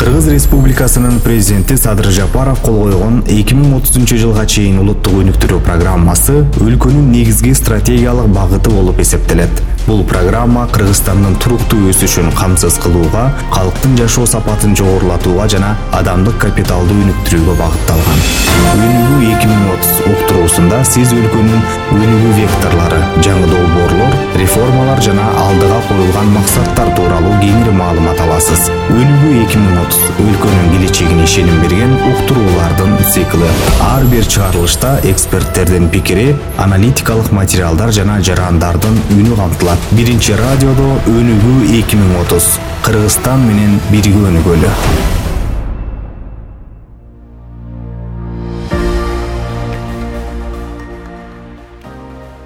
Кыргыз Республикасынын президенти Садыр Жапаров кол койгон 2030-жылга чейин улуттук өнүктүрүү программасы өлкөнүн негизги стратегиялык багыты болуп эсептелет. Бул программа Кыргызстандын туруктуу өсүшүн камсыз кылууга, калктын жашоо сапатын жогорулатууга жана адамдык капиталды өнүктүрүүгө багытталган. Өнүгүү 2030 уктуруусунда сиз өлкөнүн өнүгүү векторлору, жаңы долбоорлор, реформалар жана алдыга коюлган максаттар тууралуу кеңири маалымат аласыз. Өнүгүү 2030 өлкөнүн келечегине ишеним берген уктуруулардын цикли. Ар бир чыгарылышта эксперттердин пикири, аналитикалык материалдар жана жарандардын үнү камтылат. Биринчи радиодо Өнүгүү 2030. Кыргызстан менен бирге өнүгөлү.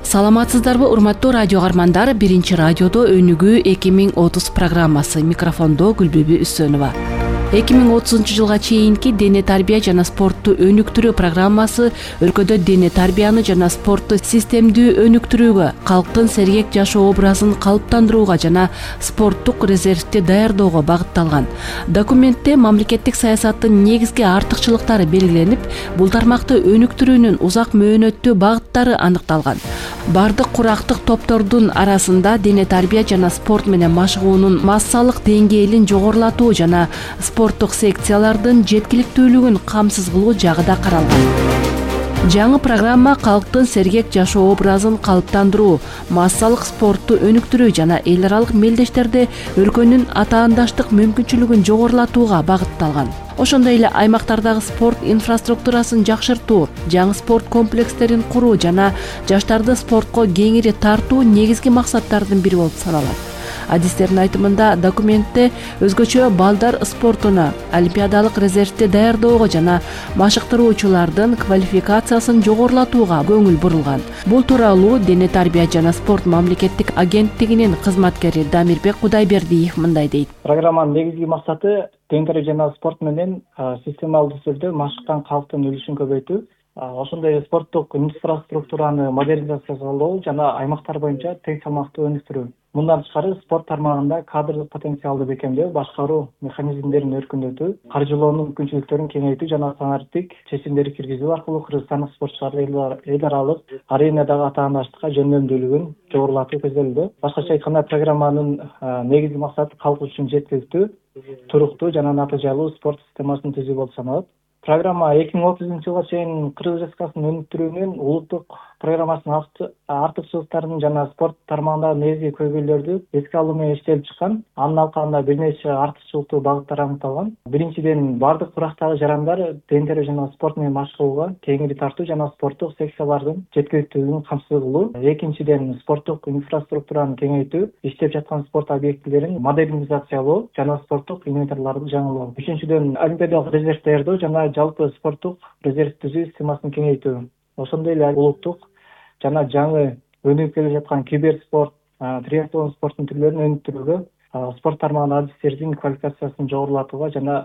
Саламатсыздарбы, урматтуу радио каармандар? Биринчи радиодо Өнүгүү 2030 программасы. Микрофондо Гүлбүбү Үсөнова. 2030-жылга чейинки дене тарбия жана спортту өнүктүрүү программасы өлкөдө дене тарбияны жана спортту системдүү өнүктүрүүгө, калктын сергек жашоо образын калыптандырууга жана спорттук резервди даярдоого багытталган. Документте мамлекеттик саясаттын негизги артыкчылыктары белгиленип, бул тармакты өнүктүрүүнүн узак мөөнөттүү багыттары аныкталган. Бардык курактык топтордун арасында дене тарбия жана спорт менен машыгуунун массалык деңгээлин жогорулатуу жана спорттук секциялардын жеткиликтүүлүгүн камсыз кылуу жагы да каралган. Жаңы программа калктын сергек жашоо образын калыптандыруу, массалык спортту өнүктүрүү жана эл аралык мелдештерде өлкөнүн атаандаштык мүмкүнчүлүгүн жогорулатууга багытталган. Ошондой эле аймактардагы спорт инфраструктурасын жакшыртуу, жаңы спорт комплекстерин куруу жана жаштарды спортко кеңири тартуу негизги максаттардын бири болуп саналат. Адистердин айтымында, документте өзгөчө балдар спортуна, олимпиадалык резервди даярдоого жана машыктыруучулардын квалификациясын жогорулатууга көңүл бурулган. Бул тууралуу Дене тарбия жана спорт мамлекеттик агенттигинин кызматкери Дамирбек Кудайбердиев мындай дейт. Программанын негизги максаты дене тарбия жана спорт менен системалдуу түрдө машыккан калктын үлүшүн көбөйтүү, ошондой спорттук инфраструктураны модернизациялоо жана аймактар боюнча тең салмактуу өнүктүрүү. Мындан тышкары спорт тармагында кадрлык потенциалды бекемдөө, башкаруу механизмдерин өркүндөтүү, каржылоонун мүмкүнчүлүктөрүн кеңейтүү жана стандарттык чечимдерди киргизүү аркылуу кыргызстандык спортчулардын эл аралык аренадагы атаандаштыкка жөндөмдүүлүгүн жогорулатуу көзделүүдө. Башкача айтканда, программанын негизги максаты калк үчүн жеткиликтүү, туруктуу жана натыйжалуу спорт системасын түзүү болуп саналат. Программа 2030-жылга чейин Кыргыз Республикасынын өнүктүрүүнүн улуттук программасынын артыкчылыктарын жана спорт тармагындагы негизги көйгөйлөрдү эске алуу менен иштелип чыккан. Анын алкагында бир нече артыкчылыктуу багыттар аныкталган. Биринчиден, бардык курактагы жарандар дене тарбия жана спорт менен машыгууга кеңири тартуу жана спорттук секциялардын жеткиликтүүлүгүн камсыз кылуу. Экинчиден, спорттук инфраструктураны кеңейтүү, иштеп жаткан спорт объектилерин модернизациялоо жана спорттук инвентарларды жаңылоо. Үчүнчүдөн, олимпиадалык резерв даярдоо жана жалпы спорттук резерв түзүү системасын кеңейтүү. Ошондой эле улуттук жана жаңы өнүгүп келе жаткан киберспорт, триатлон спорттун түрлөрүн өнүктүрүүгө, спорт тармагынын адистердин квалификациясын жогорулатууга жана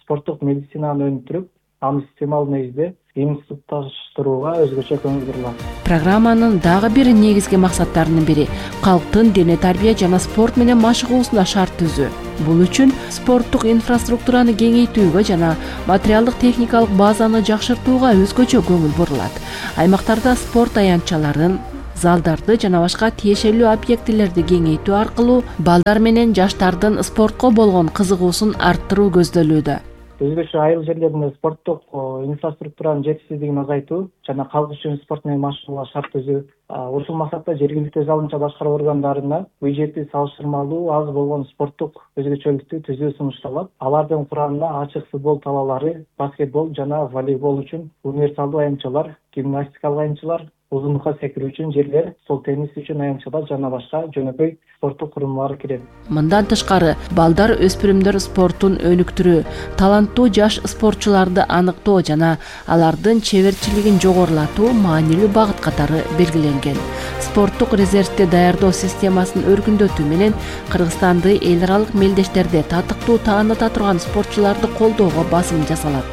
спорттук медицинаны өнүктүрүп, аны системалуу негизде институтташтырууга өзгөчө көңүл бурулат. Программанын дагы бир негизги максаттарынын бири калктын дене тарбия жана спорт менен машыгуусуна шарт түзүү. Бул үчүн спорттук инфраструктураны кеңейтүүгө жана материалдык техникалык базаны жакшыртууга өзгөчө көңүл бурулат. Аймактарда спорт аянтчаларын, залдарды жана башка тиешелүү объектилерди кеңейтүү аркылуу балдар менен жаштардын спортко болгон кызыгуусун арттыруу көздөлүүдө. Өзгөчө айыл жерлеринде спорттук инфраструктуранын жетишсиздигин азайтуу жана калк үчүн спорт менен машыгууга шарт түзүү. Ушул максатта жергиликтүү өз алдынча башкаруу органдарына бюджети салыштырмалуу аз болгон спорттук өзгөчөлүктү түзүү сунушталат. Алардын курамына ачык футбол талаалары, баскетбол жана волейбол үчүн универсалдуу аянтчалар, гимнастикалык аянтчалар, узунлукка секирүү үчүн жерлер, стол тенниси үчүн аянтчалар жана башка жөнөкөй спорттук курумдар кирет. Мындан тышкары, балдар өспүрүмдөр спортун өнүктүрүү, таланттуу жаш спортчуларды аныктоо жана алардын чеберчилигин жогорулатуу маанилүү багыт катары белгиленген. Спорттук резервди даярдоо системасын өркүндөтүү менен Кыргызстанды эл аралык мелдештерде татыктуу тааныта турган спортчуларды колдоого басым жасалат.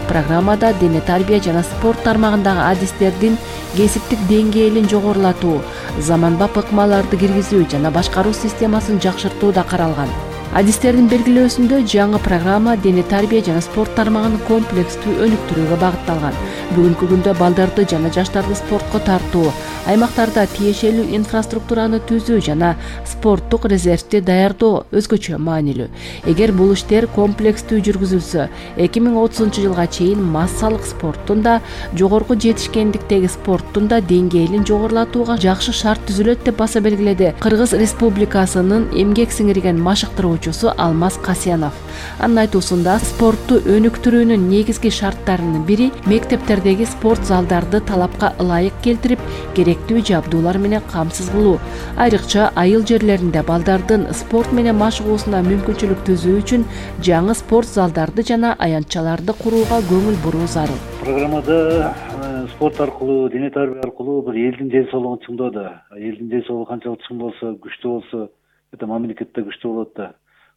Программада дене тарбия жана спорт тармагындагы адистердин кесиптик деңгээлин жогорулатуу, заманбап ыкмаларды киргизүү жана башкаруу системасын жакшыртуу да каралган. Адистердин белгилөөсүндө жаңы программа дене тарбия жана спорт тармагын комплекстүү өнүктүрүүгө багытталган. Бүгүнкү күндө балдарды жана жаштарды спортко тартуу, аймактарда тиешелүү инфраструктураны түзүү жана спорттук резервди даярдоо өзгөчө маанилүү. Эгер бул иштер комплекстүү жүргүзүлсө, 2030-жылга чейин массалык спорттун да, жогорку жетишкендиктеги спорттун да деңгээлин жогорулатууга жакшы шарт түзүлөт деп баса белгиледи Кыргыз Республикасынын эмгек сиңирген машыктыруучусу Алмаз Касьянов. Анын айтуусунда спортту өнүктүрүүнүн негизги шарттарынын бири мектептердеги спорт залдарды талапка ылайык келтирип, керектүү жабдуулар менен камсыз кылуу. Айрыкча айыл жерлеринде балдардын спорт менен машыгуусуна мүмкүнчүлүк түзүү үчүн жаңы спорт залдарды жана аянтчаларды курууга көңүл буруу зарыл. Программада спорт аркылуу, дене тарбия аркылуу бир элдин ден соолугун чыңдоо да. Элдин ден соолугу канчалык чың болсо, күчтүү болсо, мамлекет да күчтүү болот да.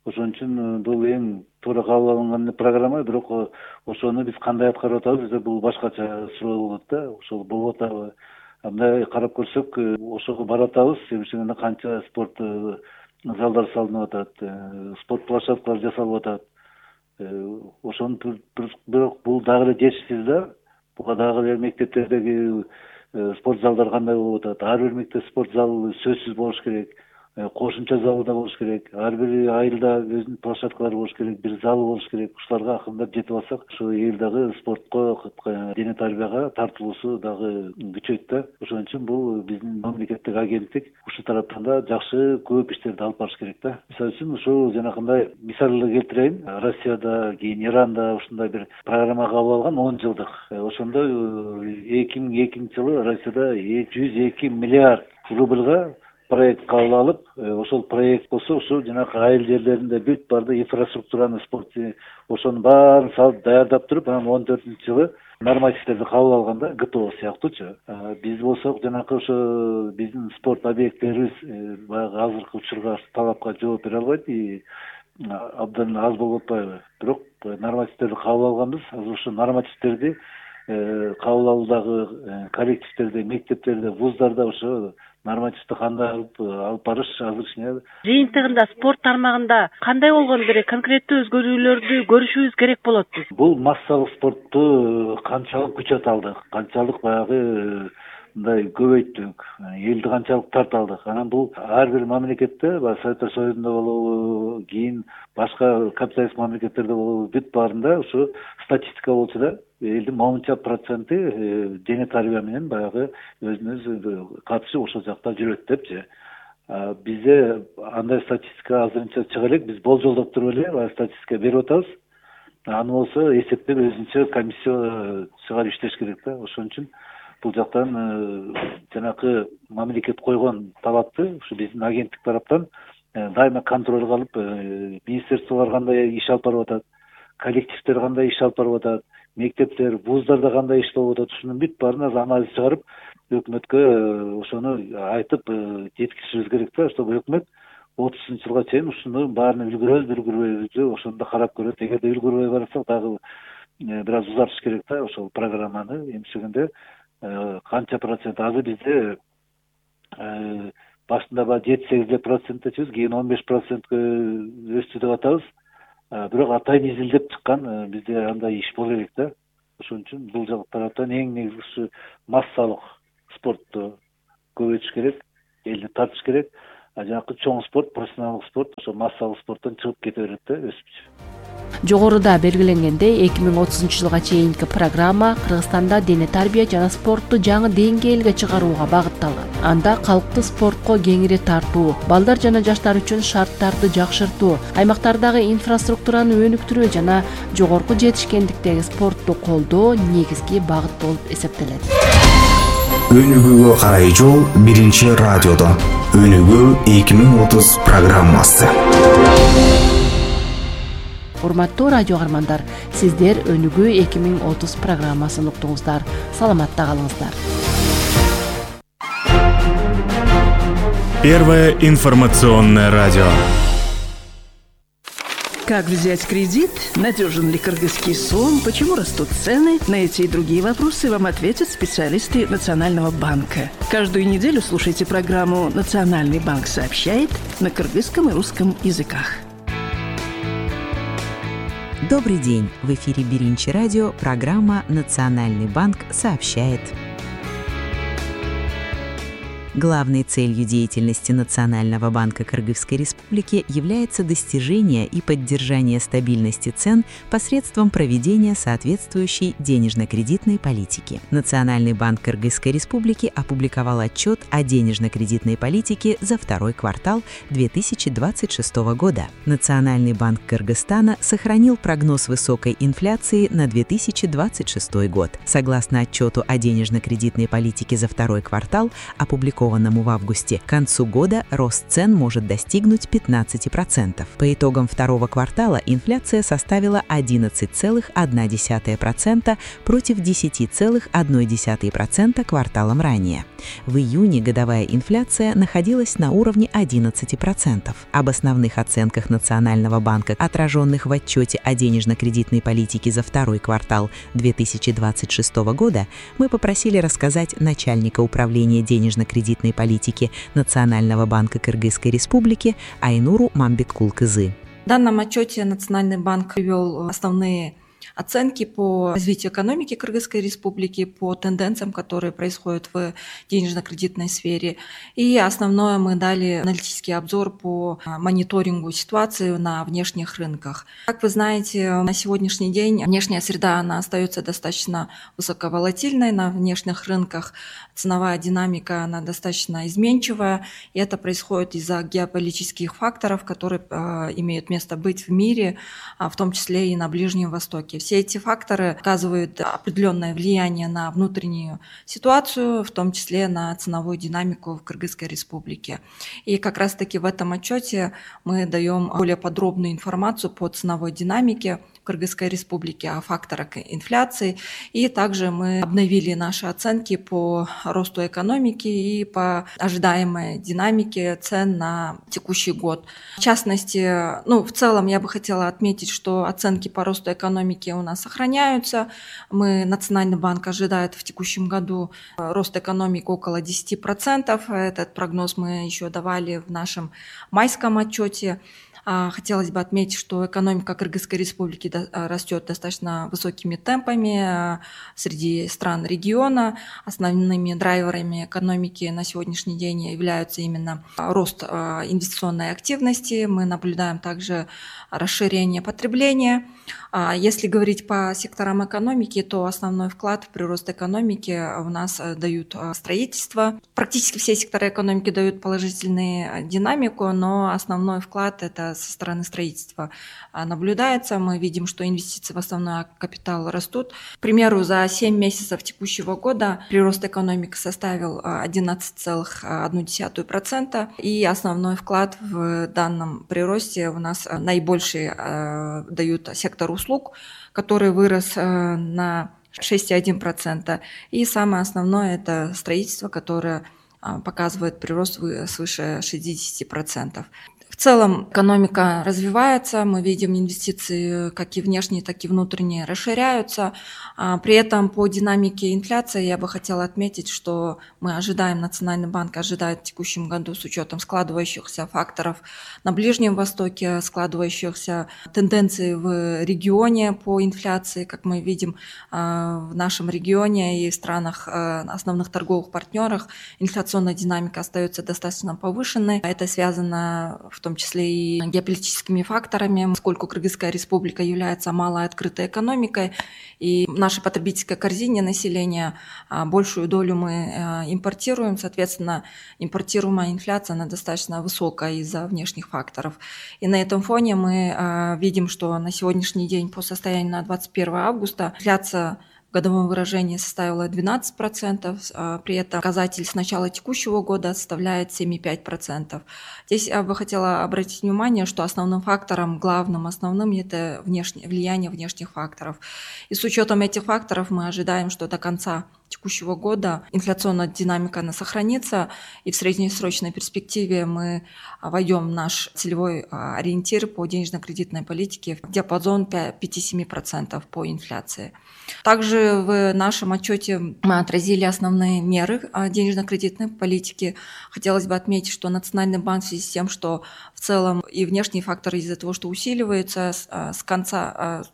Ошон үчүн бул эң туура кабыл алынган программа, бирок ошону биз кандай аткарып атабыз, бизде бул башкача суроо болот да. Ошол болуп атабы? Мындай карап көрсөк, ошого барып атабыз, себеби канча спорт залдар салынып атат, спорт площадкалары жасалып атат. Ошону бирок бул дагы эле жетишсиз да. Буга дагы эле мектептердеги спорт залдар кандай болуп атат? Ар бир мектеп спорт залы сөзсүз болуш керек. Кошумча залы да болуш керек. Ар бир айылда өзүнүн площадкалары болуш керек, бир залы болуш керек. Ушуларга акырындап жетип алсак, ушу эл дагы спортко, дене тарбияга тартылуусу дагы күчөйт да. Ошон үчүн бул биздин мамлекеттик агенттик ушул тараптан да жакшы көп иштерди алып барыш керек да. Мисалы үчүн ушул жанакындай мисалды келтирейин. Россияда, кийин Иранда ушундай бир программа кабыл алган 10 жылдык. Ошондо 2002-жылы Россияда 102 миллиард рубльга проект кабыл алып, ошол проект болсо ушу жанагы айыл жерлеринде бүт барды инфраструктураны, спорт ошонун баарын салып даярдап туруп, анан 14-жылы нормативдерди кабыл алганда ГТО сыяктуучу. Биз болсок жанагы ошо биздин спорт объекттерибиз баягы азыркы учурга талапка жооп бере албайт, абдан аз болуп атпайбы? Бирок нормативдерди кабыл алганбыз. Азыр ошо нормативдерди кабыл алуудагы коллективдерде, мектептерде, вуздарда ошо нормативди кандай алып барыш азыр кичине. Жыйынтыгында спорт тармагында кандай болгону керек, конкреттүү өзгөрүүлөрдү көрүшүбүз керек болот. Бул массалык спортту канчалык күчөт алдык, канчалык баягы мындай көбөйттүк, элди канчалык тарта алдык. Анан бул ар бир мамлекетте, Советтер Союзунда болобу, кийин башка капиталист мамлекеттерде болобу, бүт баарында ушу статистика болчу да. Элдин моунча проценти дене тарбия менен баягы өзүнүн катышып ошол жакта жүрөт депчи. Бизде андай статистика азырынча чыга элек, биз болжолдоп туруп эле статистика берип атабыз. Аны болсо эсептеп өзүнчө комиссия чыгарып иштеш керек да. Ошон үчүн бул жактан жанакы мамлекет койгон талапты ушу биздин агенттик тараптан дайыма контролго алып, министерстволор кандай иш алып барып атат, коллективдер кандай иш алып барып атат, мектептер, вуздарда кандай иш болуп атат, ушунун бүт баарына анализ чыгарып, өкмөткө ошону айтып жеткизишибиз керек да, чтобы өкмөт 30-жылга чейин ушунун баарына үлгүрөбүзбү, ошону да карап көрөт. Эгерде үлгүрбөй барсак, дагы бир аз узартыш керек да, ошол программаны. Эмчегенде канча процент азыр бизде башында 7-8%, кийин 15%га өстү деп атабыз. Бирок атайын изилдеп чыккан бизде андай иш боло элек да. Ошон үчүн бул жак тараптан эң негизгиси массалык спортту көбөйтүш керек, элди тартыш керек. Жанакы чоң спорт, профессионалдык спорт ошо массалык спорттон чыгып кете берет да, өсүпчү. Жогоруда белгиленгендей, 2030-жылга чейинки программа Кыргызстанда дене тарбия жана спортту жаңы деңгээлге чыгарууга багытталган. Анда калкты спортко кеңири тартуу, балдар жана жаштар үчүн шарттарды жакшыртуу, аймактардагы инфраструктураны өнүктүрүү жана жогорку жетишкендиктеги спортту колдоо негизги багыт болуп эсептелет. Өнүгүүгө карай жол биринчи радиодо. Өнүгүү 2030 программасы. Урматтуу радио каармандар, сиздер Өнүгүү 2030 программасын уктуңуздар. Саламатта калыңыздар. Первое информационное радио. Как взять кредит? Надежен ли кыргызский сом? Почему растут цены? На эти и другие вопросы вам ответят специалисты Национального банка. Каждую неделю слушайте программу «Национальный банк сообщает» на кыргызском и русском языках. Добрый день! В эфире Биринчи радио, программа «Национальный банк сообщает». Главной целью деятельности Национального банка Кыргызской Республики является достижение и поддержание стабильности цен посредством проведения соответствующей денежно-кредитной политики. Национальный банк Кыргызской Республики опубликовал отчет о денежно-кредитной политике за второй квартал 2026 года. Национальный банк Кыргызстана сохранил прогноз высокой инфляции на 2026 год. Согласно отчету о денежно-кредитной политике за второй квартал, опубликованному в августе, к концу года рост цен может достигнуть 15%. По итогам второго квартала инфляция составила 11,1% против 10,1% кварталом ранее. В июне годовая инфляция находилась на уровне 11%. Об основных оценках Национального банка, отраженных в отчете о денежно-кредитной политике за второй квартал 2026 года, мы попросили рассказать начальника управления денежно-кредитной политики Национального банка Кыргызской Республики Айнуру Мамбеткул-Кызы. В данном отчете Национальный банк привел основные оценки по развитию экономики Кыргызской Республики, по тенденциям, которые происходят в денежно-кредитной сфере. И основное мы дали аналитический обзор по мониторингу ситуации на внешних рынках. Как вы знаете, на сегодняшний день внешняя среда она остается достаточно высоковолатильной на внешних рынках. Ценовая динамика она достаточно изменчивая, и это происходит из-за геополитических факторов, которые имеют место быть в мире, в том числе и на Ближнем Востоке. Все эти факторы оказывают определенное влияние на внутреннюю ситуацию, в том числе на ценовую динамику в Кыргызской Республике. И как раз-таки в этом отчете мы даем более подробную информацию по ценовой динамике в Кыргызской Республике, о факторах инфляции. И также мы обновили наши оценки по росту экономики и по ожидаемой динамике цен на текущий год. В частности, в целом я бы хотела отметить, что оценки по росту экономики у нас сохраняются. Национальный банк ожидает в текущем году рост экономики около 10%. Этот прогноз мы еще давали в нашем майском отчете. Хотелось бы отметить, что экономика Кыргызской Республики растет достаточно высокими темпами среди стран региона. Основными драйверами экономики на сегодняшний день являются именно рост инвестиционной активности. Мы наблюдаем также расширение потребления. Если говорить по секторам экономики, то основной вклад в прирост экономики у нас дают строительство. Практически все секторы экономики дают положительную динамику, но основной вклад это со стороны строительства наблюдается. Мы видим, что инвестиции в основной капитал растут. К примеру, за 7 месяцев текущего года прирост экономики составил 11,1%. И основной вклад в данном приросте у нас наибольший дают сектор услуг, который вырос на 6,1%. И самое основное это строительство, которое показывает прирост свыше 60%. В целом экономика развивается, мы видим инвестиции как и внешние, так и внутренние расширяются. При этом по динамике инфляции я бы хотела отметить, что Национальный банк ожидает в текущем году с учетом складывающихся факторов на Ближнем Востоке, складывающихся тенденций в регионе по инфляции, как мы видим в нашем регионе и в странах основных торговых партнерах, инфляционная динамика остается достаточно повышенной. Это связано в том числе и геополитическими факторами, поскольку Кыргызская Республика является малой открытой экономикой, и в нашей потребительской корзине населения большую долю мы импортируем, соответственно, импортируемая инфляция она достаточно высокая из-за внешних факторов. И на этом фоне мы видим, что на сегодняшний день по состоянию на 21 августа инфляция в годовом выражении составила 12%, при этом показатель с начала текущего года составляет 7,5%. Здесь я бы хотела обратить внимание, что основным фактором, основным это влияние внешних факторов. И с учетом этих факторов мы ожидаем, что до конца текущего года инфляционная динамика она сохранится, и в среднесрочной перспективе мы войдем в наш целевой ориентир по денежно-кредитной политике в диапазон 5-7% по инфляции. Также в нашем отчете мы отразили основные меры денежно-кредитной политики. Хотелось бы отметить, что Национальный банк в связи с тем, что в целом и внешние факторы из-за того, что усиливаются, с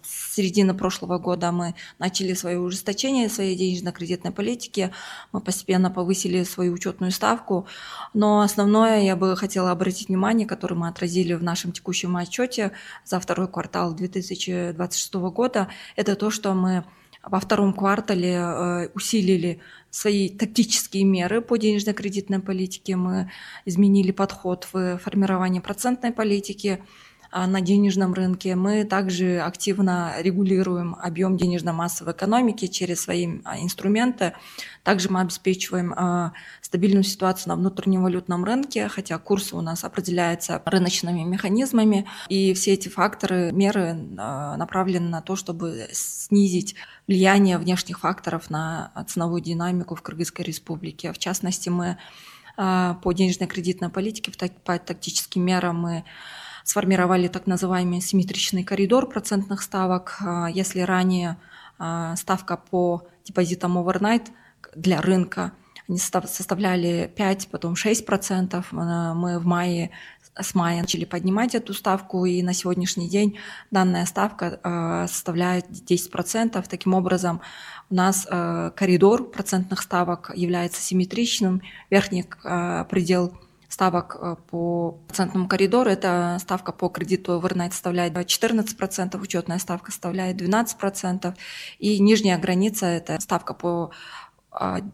середины прошлого года мы начали свое ужесточение своей денежно-кредитной политики, мы постепенно повысили свою учетную ставку, но основное я бы хотела обратить внимание, которое мы отразили в нашем текущем отчете за второй квартал 2026 года, это то, что мы во втором квартале усилили свои тактические меры по денежно-кредитной политике, мы изменили подход в формировании процентной политики на денежном рынке. Мы также активно регулируем объем денежной массы в экономике через свои инструменты. Также мы обеспечиваем стабильную ситуацию на внутреннем валютном рынке, хотя курс у нас определяется рыночными механизмами. И все эти факторы, меры направлены на то, чтобы снизить влияние внешних факторов на ценовую динамику в Кыргызской Республике. В частности, мы по денежно-кредитной политике, по тактическим мерам мы сформировали так называемый симметричный коридор процентных ставок. Если ранее ставка по депозитам overnight для рынка они составляли 5, потом 6%, мы с мая начали поднимать эту ставку, и на сегодняшний день данная ставка составляет 10%. Таким образом, у нас коридор процентных ставок является симметричным. Верхний предел ставок по процентному коридору, это ставка по кредиту overnight составляет 14%, учетная ставка составляет 12%, и нижняя граница, это ставка по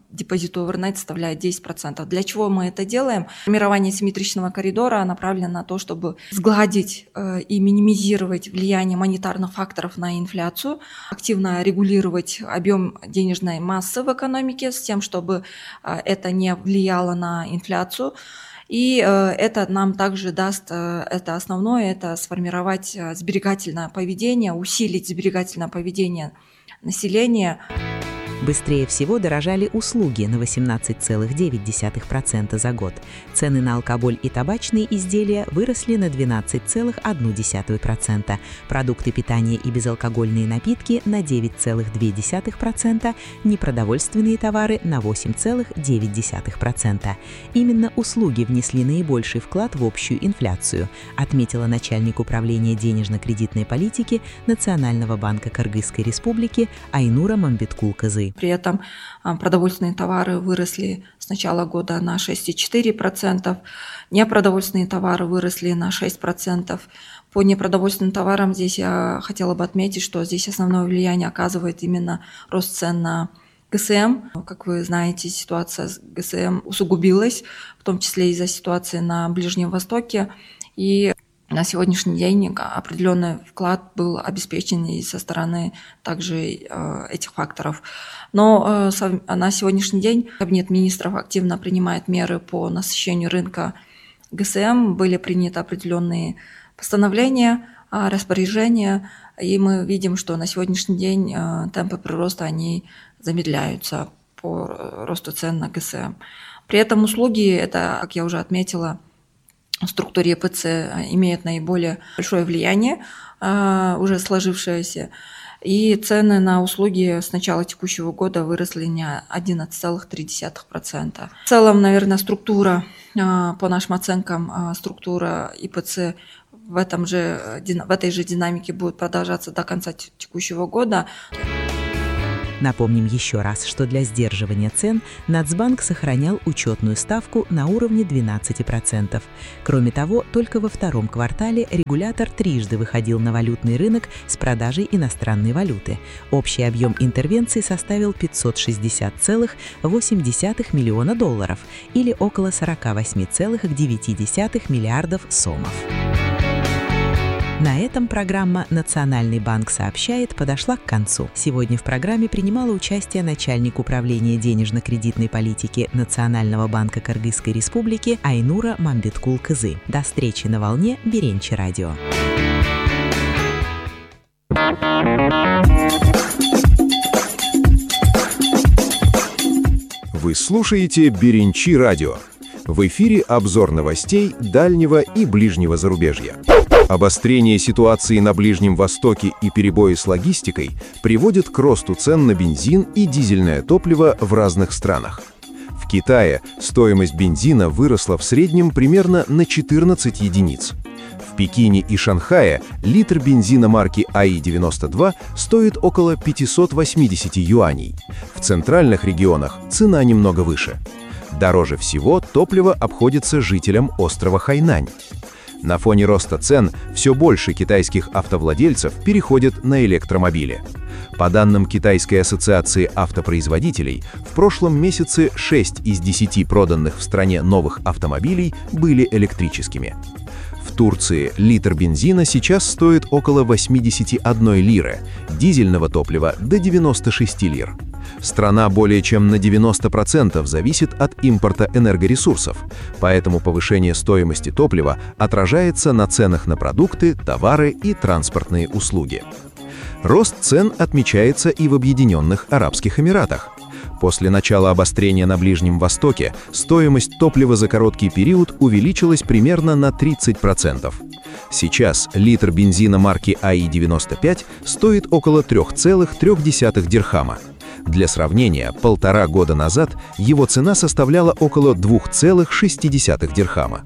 депозиту overnight составляет 10%. Для чего мы это делаем? Формирование симметричного коридора направлено на то, чтобы сгладить и минимизировать влияние монетарных факторов на инфляцию, активно регулировать объем денежной массы в экономике с тем, чтобы это не влияло на инфляцию. И это нам также даст, это основное, это сформировать сберегательное поведение, усилить сберегательное поведение населения. Быстрее всего дорожали услуги на 18,9% за год. Цены на алкоголь и табачные изделия выросли на 12,1%, продукты питания и безалкогольные напитки на 9,2%, непродовольственные товары на 8,9%. Именно услуги внесли наибольший вклад в общую инфляцию, отметила начальник управления денежно-кредитной политики Национального банка Кыргызской Республики Айнура Мамбеткул-Кызы. При этом продовольственные товары выросли с начала года на 6,4%, непродовольственные товары выросли на 6%. По непродовольственным товарам здесь я хотела бы отметить, что здесь основное влияние оказывает именно рост цен на ГСМ. Как вы знаете, ситуация с ГСМ усугубилась, в том числе из-за ситуации на Ближнем Востоке. И на сегодняшний день определенный вклад был обеспечен и со стороны также этих факторов. Но на сегодняшний день Кабинет министров активно принимает меры по насыщению рынка ГСМ. Были приняты определенные постановления, распоряжения, и мы видим, что на сегодняшний день темпы прироста они замедляются по росту цен на ГСМ. При этом услуги, это, как я уже отметила, в структуре ЕПЦ имеет наиболее большое влияние, уже сложившееся, и цены на услуги с начала текущего года выросли на 11,3%. В целом, наверное, структура, по нашим оценкам, структура ИПЦ в этой же динамике будет продолжаться до конца текущего года. Напомним еще раз, что для сдерживания цен Нацбанк сохранял учетную ставку на уровне 12%. Кроме того, только во втором квартале регулятор трижды выходил на валютный рынок с продажей иностранной валюты. Общий объем интервенций составил $560,8 миллиона или около 48,9 миллиардов сомов. На этом программа «Национальный банк сообщает» подошла к концу. Сегодня в программе принимала участие начальник управления денежно-кредитной политики Национального банка Кыргызской Республики Айнура Мамбеткул-Кызы. До встречи на волне Биринчи радио. Вы слушаете Беренчи радио. В эфире обзор новостей дальнего и ближнего зарубежья. Обострение ситуации на Ближнем Востоке и перебои с логистикой приводят к росту цен на бензин и дизельное топливо в разных странах. В Китае стоимость бензина выросла в среднем примерно на 14 единиц. В Пекине и Шанхае литр бензина марки АИ-92 стоит около 580 юаней. В центральных регионах цена немного выше. Дороже всего топливо обходится жителям острова Хайнань. На фоне роста цен все больше китайских автовладельцев переходят на электромобили. По данным Китайской ассоциации автопроизводителей, в прошлом месяце 6 из 10 проданных в стране новых автомобилей были электрическими. В Турции литр бензина сейчас стоит около 81 лиры, дизельного топлива до 96 лир. Страна более чем на 90% зависит от импорта энергоресурсов, поэтому повышение стоимости топлива отражается на ценах на продукты, товары и транспортные услуги. Рост цен отмечается и в Объединенных Арабских Эмиратах. После начала обострения на Ближнем Востоке стоимость топлива за короткий период увеличилась примерно на 30%. Сейчас литр бензина марки АИ-95 стоит около 3,3 дирхама. Для сравнения, 1,5 года назад его цена составляла около 2,6 дирхама.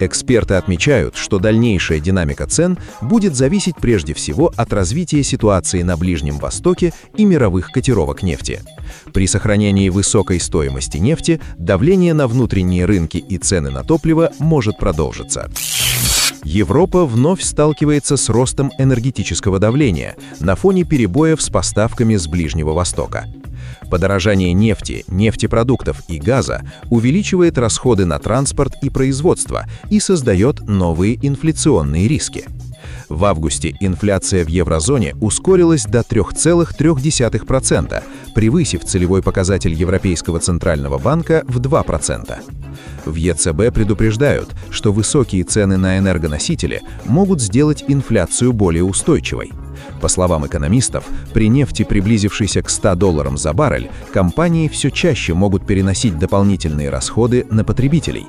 Эксперты отмечают, что дальнейшая динамика цен будет зависеть прежде всего от развития ситуации на Ближнем Востоке и мировых котировок нефти. При сохранении высокой стоимости нефти давление на внутренние рынки и цены на топливо может продолжиться. Европа вновь сталкивается с ростом энергетического давления на фоне перебоев с поставками с Ближнего Востока. Подорожание нефти, нефтепродуктов и газа увеличивает расходы на транспорт и производство и создает новые инфляционные риски. В августе инфляция в еврозоне ускорилась до 3,3%, превысив целевой показатель Европейского центрального банка в 2%. В ЕЦБ предупреждают, что высокие цены на энергоносители могут сделать инфляцию более устойчивой. По словам экономистов, при нефти, приблизившейся к $100 за баррель, компании все чаще могут переносить дополнительные расходы на потребителей.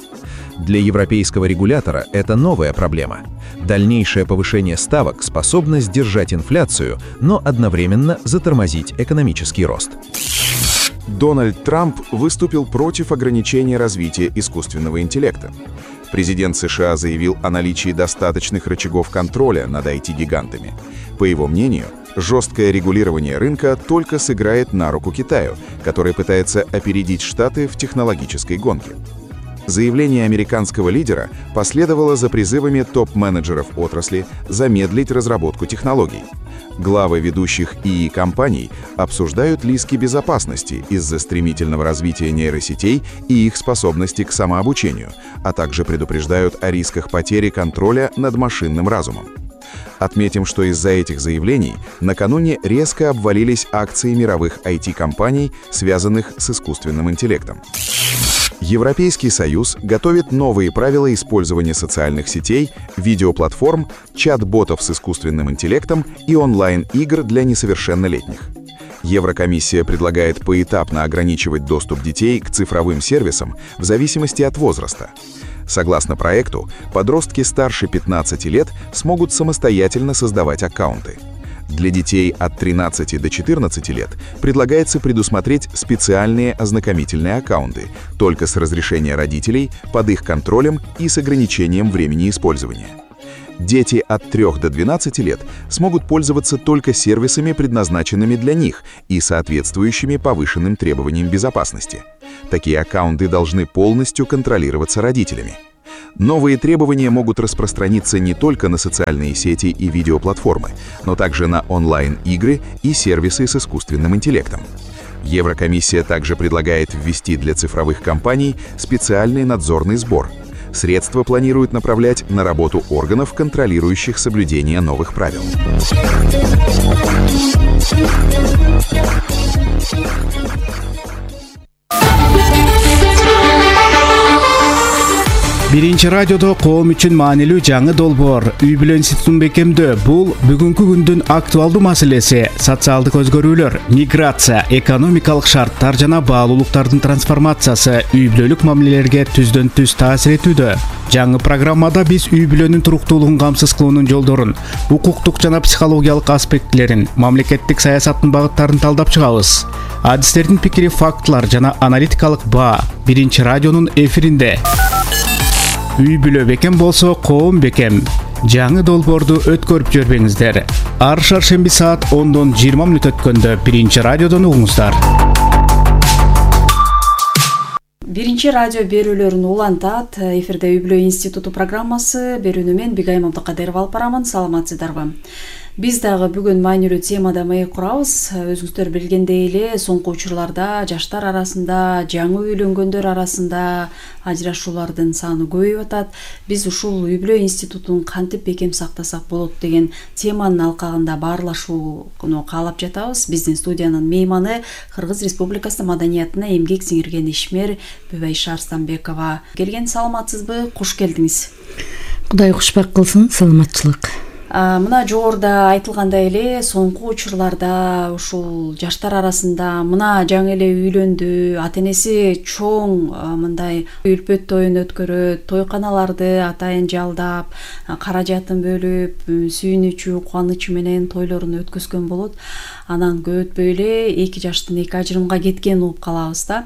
Для европейского регулятора это новая проблема. Дальнейшее повышение ставок способно сдержать инфляцию, но одновременно затормозить экономический рост. Дональд Трамп выступил против ограничения развития искусственного интеллекта. Президент США заявил о наличии достаточных рычагов контроля над IT-гигантами. По его мнению, жесткое регулирование рынка только сыграет на руку Китаю, который пытается опередить Штаты в технологической гонке. Заявление американского лидера последовало за призывами топ-менеджеров отрасли замедлить разработку технологий. Главы ведущих ИИ-компаний обсуждают риски безопасности из-за стремительного развития нейросетей и их способности к самообучению, а также предупреждают о рисках потери контроля над машинным разумом. Отметим, что из-за этих заявлений накануне резко обвалились акции мировых IT-компаний, связанных с искусственным интеллектом. Европейский Союз готовит новые правила использования социальных сетей, видеоплатформ, чат-ботов с искусственным интеллектом и онлайн-игр для несовершеннолетних. Еврокомиссия предлагает поэтапно ограничивать доступ детей к цифровым сервисам в зависимости от возраста. Согласно проекту, подростки старше 15 лет смогут самостоятельно создавать аккаунты. Для детей от 13 до 14 лет предлагается предусмотреть специальные ознакомительные аккаунты, только с разрешения родителей, под их контролем и с ограничением времени использования. Дети от 3 до 12 лет смогут пользоваться только сервисами, предназначенными для них и соответствующими повышенным требованиям безопасности. Такие аккаунты должны полностью контролироваться родителями. Новые требования могут распространиться не только на социальные сети и видеоплатформы, но также на онлайн-игры и сервисы с искусственным интеллектом. Еврокомиссия также предлагает ввести для цифровых компаний специальный надзорный сбор. Средства планируют направлять на работу органов, контролирующих соблюдение новых правил. Биринчи радиодо коом үчүн маанилүү жаңы долбоор үй бүлө институтун бекемдөө. Бул бүгүнкү күндүн актуалдуу маселеси. Социалдык өзгөрүүлөр, миграция, экономикалык шарттар жана баалуулуктардын трансформациясы үй бүлөлүк мамилелерге түздөн түз таасир этүүдө. Жаңы программада биз үй бүлөнүн туруктуулугун камсыз кылуунун жолдорун, укуктук жана психологиялык аспектилерин, мамлекеттик саясаттын багыттарын талдап чыгабыз. Адистердин пикири, фактылар жана аналитикалык баа Биринчи радионун эфиринде. Үй бүлө бекем болсо коом бекем. Жаңы долбоорду өткөрүп жүрбөңүздөр. Ар шаршемби саат 10-дон 20 мүнөт өткөндө Биринчи радиодон угуңуздар. Биринчи радио берүүлөрүн улантат. Эфирде Үй бүлө институту программасы. Берүүнү мен Бигайым Абдыкадырова алып барамын. Саламатсыздарбы? Биз дагы бүгүн маанилүү темада маек курабыз. Өзүңүздөр билгендей эле, соңку учурларда жаштар арасында, жаңы үйлөнгөндөр арасында ажырашуулардын саны көбөйүп атат. Биз ушул Үй бүлө институтун кантип бекем сактасак болот деген теманын алкагында баарлашууну каалап жатабыз. Биздин студиянын мейманы Кыргыз Республикасы маданиятына эмгек сиңирген ишмер Бүбайша Арстанбекова. Келген, саламатсызбы? Куш келдиңиз. Кудай кушбак кылсын, саламатчылык. Мына жогоруда айтылгандай эле, соңку учурларда ушул жаштар арасында мына жаңы эле үйлөндү, ата-энеси чоң мындай үлпөт тоюн өткөрөт, тойканаларды атайын жалдап, каражатын бөлүп, сүйүнүчү, кубанычы менен тойлорун өткөзгөн болот. Анан көп өтпөй эле эки жаштын эки ажырымга кеткен угуп калабыз да.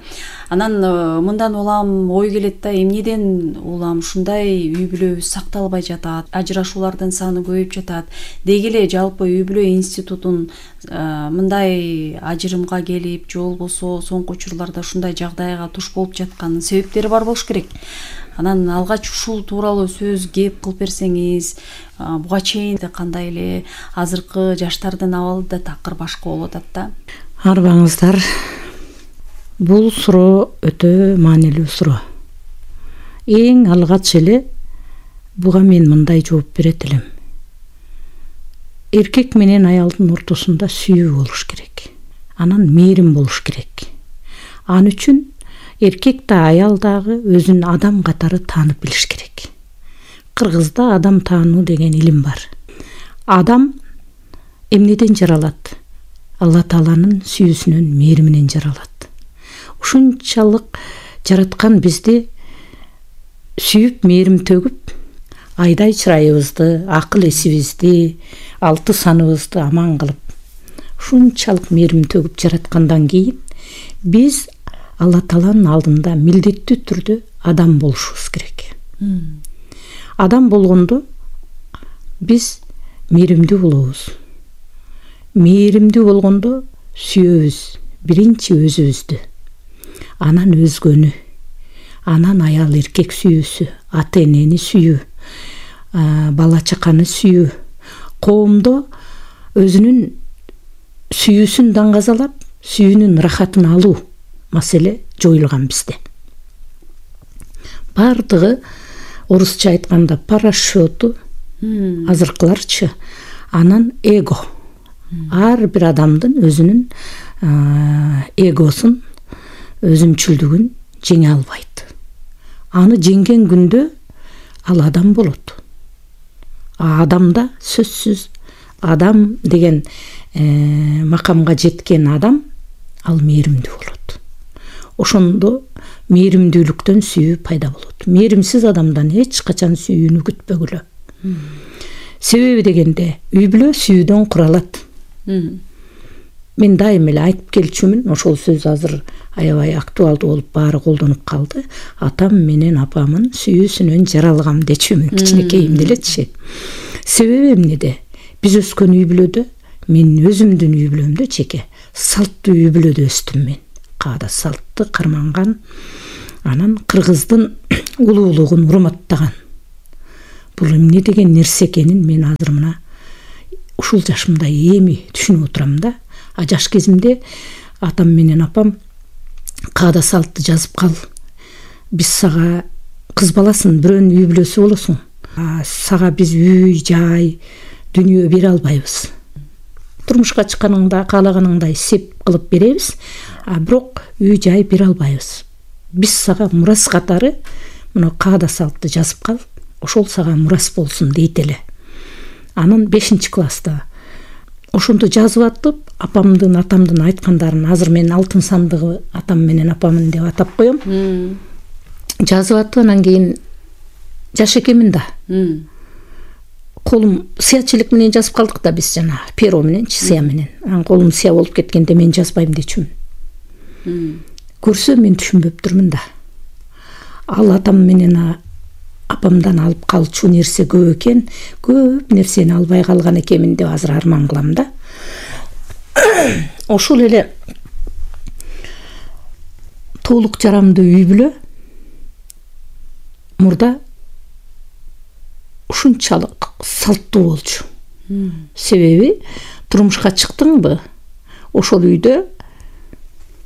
Анан мындан улам ой келет да, эмнеден улам ушундай үй бүлө сакталбай жатат, ажырашуулардын саны көбөйүп жатат. Деги эле жалпы үй бүлө институтун мындай ажырымга келип, же болбосо соңку учурларда ушундай жагдайга туш болуп жатканын себептери бар болуш керек. Анан алгач ушул тууралуу сөз кеп кылып берсеңиз, буга чейин кандай эле азыркы жаштардын абалы да такыр башка болуп атат да. Арбаңыздар, бул суроо өтө маанилүү суроо. Эң алгач эле буга мен мындай жооп берет элем. Эркек менен аялдын ортосунда сүйүү болуш керек. Анан мээрим болуш керек. Ал үчүн эркек да аял дагы өзүн адам катары таанып билиш керек. Кыргызда адам таануу деген илим бар. Адам эмнеден жаралат? Алла Тааланын сүйүүсүнөн, мээриминен жаралат. Ушунчалык жараткан бизди сүйүп, мээрим төгүп, айдай чырайыбызды, акыл эсибизди, алты саныбызды аман кылып, ушунчалык мээрим төгүп жараткандан кийин биз Алла Тааланын алдында милдеттүү түрдө адам болушубуз керек. Адам болгондо биз мээримдүү болобуз. Мээримдүү болгондо сүйөбүз, биринчи өзүбүздү, анан өзгөнү, анан аял эркек сүйүүсү, ата энени сүйүү, бала чаканы сүйүү, коомдо өзүнүн сүйүүсүн даңгазалап, сүйүүнүн рахатын алуу маселе жоюлган бизде. Бардыгы орусча айтканда парашюту, азыркыларчы, анан эго. Ар бир адамдын өзүнүн эгосун, өзүмчүлдүгүн жеңе албайт. Аны жеңген күндө ал адам болот. Адамда сөзсүз адам деген макамга жеткен адам ал мээримдүү болот. Ошондо мээримдүүлүктөн сүйүү пайда болот. Мээримсиз адамдан эч качан сүйүүнү күтпөгүлө. Себеби дегенде үй бүлө сүйүүдөн куралат. Мен дайым эле айтып келчүмүн, ошол сөз азыр аябай актуалдуу болуп баары колдонуп калды. Атам менен апамын сүйүүсүнөн жаралгам дечүмүн, кичинекейимде элечи. Себеби эмнеде? Биз өскөн үй бүлөдө, мен өзүмдүн үй бүлөмдө чеке салттуу үй бүлөдө өстүм мен. Каада салтты карманган, анан кыргыздын улуулугун урматтаган. Бул эмне деген нерсе экенин мен азыр мына ушул жашымда эми түшүнүп отурам да. Жаш кезимде атам менен апам каада салтты жазып кал. Биз сага кыз баласын, бирөөнүн үй бүлөсү болосуң. Сага биз үй, жай, дүнүйө бере албайбыз. Турмушка чыкканыңда каалаганыңдай сеп кылып беребиз, бирок үй жай бере албайбыз. Биз сага мурас катары мына каада салтты жазып кал, ошол сага мурас болсун дейт эле. Анан 5-класста ошондо жазып атып, апамдын, атамдын айткандарын, азыр мен алтын сандыгы атам менен апамын деп атап коем. Жазып атып, анан кийин жаш экенмин да. Колум сыячылык менен жазып калдык да биз, жана перо менен, сыя менен. Анан колум сыя болуп кеткенде мен жазбайм дечүмүн. Көрсө мен түшүнбөп турмун да. Ал атам менен апамдан алып калчу нерсе көп экен, көп нерсени албай калган экенмин деп азыр арман кылам да. Ошол эле толук жарамдуу үй бүлө мурда ушунчалык салттуу болчу. Себеби турмушка чыктыңбы, ошол үйдө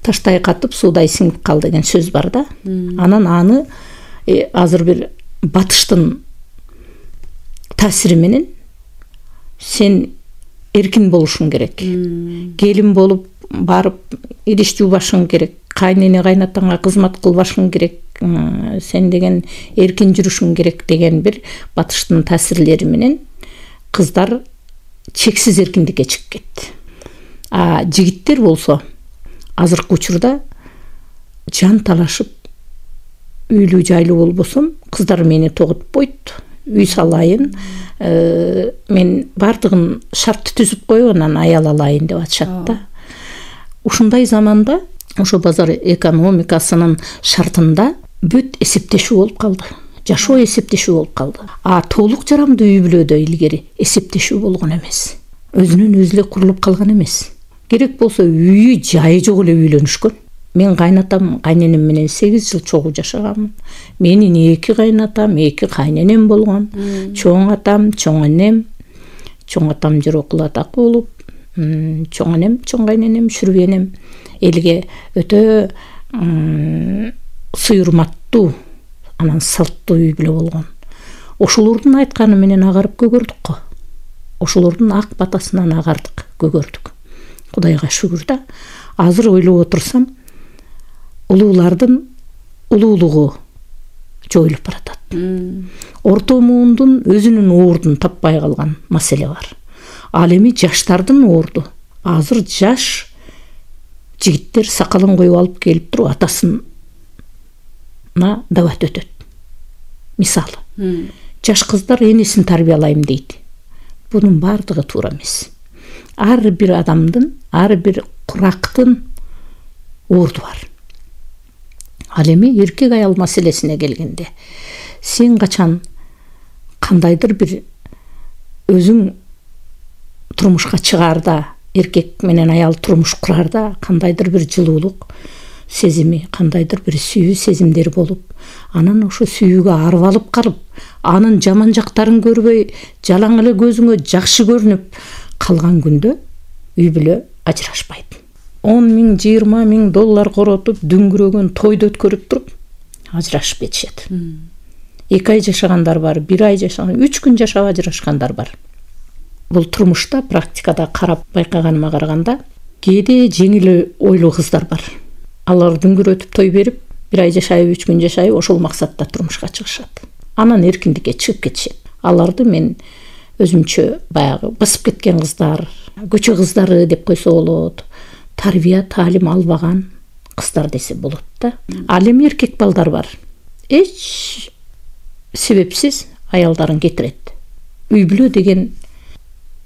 таштай катып суудай сиңип кал деген сөз бар да. Анан аны азыр бир батыштын таасири менен сен эркин болушуң керек. Келин болуп барып идиш жуубашың керек. Кайнене кайнатаңа кызмат кылбашың керек. Сен деген эркин жүрүшүң керек деген бир батыштын таасирлери менен кыздар чексиз эркиндикке чыгып кетти. Жигиттер болсо азыркы учурда жан талашып үйлүү жайлуу болбосом кыздар мени тогутпойт, үй салайын, мен бардыгын шартты түзүп коюп анан аял алайын деп атышат да. Ушундай заманда ошо базар экономикасынын шартында бүт эсептешүү болуп калды. Жашоо эсептешүү болуп калды. Толук жарамдуу үй бүлөдө илгери эсептешүү болгон эмес. Өзүнөн өзү эле курулуп калган эмес. Керек болсо үйү жайы жок эле үйлөнүшкөн. Мен кайнатам, кайненем менен 8 жыл чогуу жашаганмын. Менин 2 кайнатам, 2 кайненем болгон. Чоң атам, чоң энем, чоң атам жер окул атак болуп, чоң энем, чоң кайненем, шүрбү энем элге өтө сыйырматтуу, анан салттуу үй бүлө болгон. Ошолордун айтканы менен агарып көгөрдүк го. Ошолордун ак батасынан агардык, көгөрдүк. Кудайга шүгүр да. Азыр ойлоп отурсам, улуулардын улуулугу жоюлуп баратат. Орто муундун өзүнүн ордун таппай калган маселе бар. Ал эми жаштардын орду. Азыр жаш жигиттер сакалын коюп алып келип туруп атасына дабат өтөт. Мисалы, жаш кыздар энесин тарбиялайм дейт. Бунун бардыгы туура эмес. Ар бир адамдын, ар бир курактын орду бар. Ал эми эркек аял маселесине келгенде, сен качан кандайдыр бир өзүң турмушка чыгаарда, эркек менен аял турмуш курарда кандайдыр бир жылуулук сезими, кандайдыр бир сүйүү сезимдер болуп, анан ошо сүйүүгө арбалып калып, анын жаман жактарын көрбөй, жалаң эле көзүңө жакшы көрүнүп калган күндө үй бүлө ажырашпайт. 10 000, 20 000 доллар коротуп, дүңгүрөгөн тойду өткөрүп туруп ажырашып кетишет. 2 ай жашагандар бар, 1 ай жашаган, 3 күн жашап ажырашкандар бар. Бул турмушта практикада карап байкаганыма караганда кээде жеңил ойлуу кыздар бар. Алар дүңгүрөтүп той берип, 1 ай жашайып, 3 күн жашайып, ошол максатта турмушка чыгышат. Анан эркиндикке чыгып кетишет. Аларды мен өзүмчө баягы басып кеткен кыздар, көчө кыздары деп койсо болот, тарбия таалим албаган кыздар десе болот да. Ал эми эркек балдар бар. Эч себепсиз аялдарын кетирет. Үй бүлө деген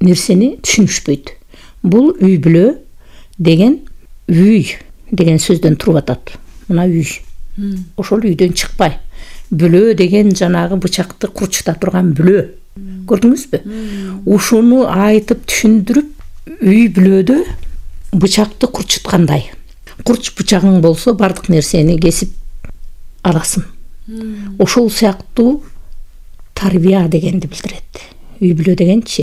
нерсени түшүнүшпөйт. Бул үй бүлө деген үй деген сөздөн туруп атат. Мына үй. Ошол үйдөн чыкпай. Бүлө деген жанагы бычакты курчута турган бүлө. Көрдүңүзбү? Ушуну айтып түшүндүрүп, үй бүлөдө бычакты курчуткандай. Курч бычагың болсо бардык нерсени кесип аласың. Ошол сыяктуу тарбия дегенди билдирет. Үй бүлө дегенчи